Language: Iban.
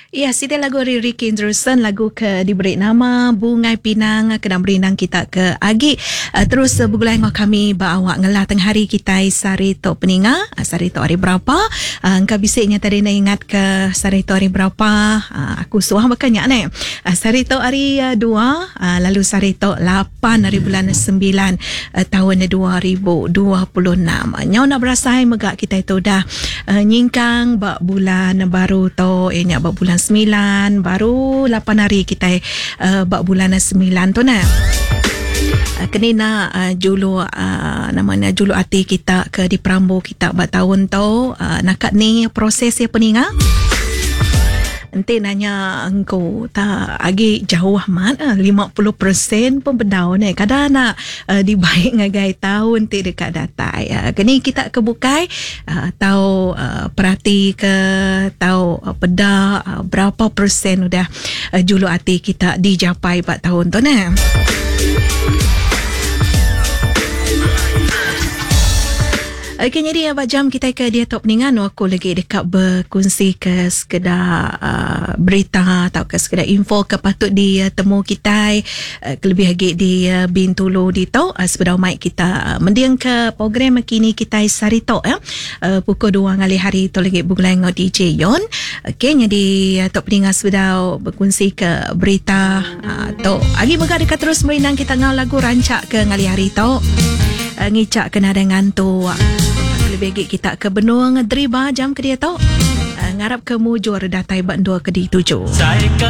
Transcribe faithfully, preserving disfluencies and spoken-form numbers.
Ya, siti lagu ari Ricky Andrewson, lagu ke diberi nama Bungai Pinang, kena merindang kita ke agi uh, terus uh, begulai ngau kami ba awak ngelah tengah hari kita sari tu peninga. Uh, sari tu hari berapa? Uh, engkau bisiknya tadi nak ingat ke sari tu hari berapa? Uh, aku suah makanya ni. Uh, sari tu hari uh, dua, uh, lalu sari tu lapan hari bulan sembilan uh, tahun dua ribu dua puluh enam. Uh, nyau nak berasai megak kita itu dah uh, nyingkang ba bulan baru tu, eh nyak ba bulan sembilan, baru lapan hari kita uh, bak bulan sembilan tu nah. Uh, kenina uh, julu uh, namanya julu hati kita ke di perambu kita bak tahun tu uh, nakat ni proses ya peninga. Enti nanya engkau tak agi jauh amat lima puluh peratus pun bedau ni. Kadang nak uh, dibaik ngagai tahun ti dekat datai. Uh, kini kita kebukai uh, tahu uh, perhati ke tahu uh, peda uh, berapa persen udah uh, julu hati kita dijapai bak tahun tu ni. Okey, jadi abang jam kita ke dia top ningan aku lagi dekat berkongsi ke sekedar uh, berita atau ke sekedar info ke patut di uh, temu kita uh, kelebih lagi di uh, Bintulu di tu uh, sepeda mic kita uh, mendiang ke program kini kita sarito ya uh, pukul dua ngalih hari tu lagi bergulai dengan D J Yon. Okey, jadi uh, top ningan sepeda berkongsi ke berita uh, tu. Agi mega dekat terus merindang kita ngau lagu rancak ke ngalih hari tu. Uh, ngicak kena dengan tu. Lebih lagi kita ke benua ngedriba jam ke dia tu. Uh, ngarap ke mujur datai bak dua ke di tujuh. Saya ke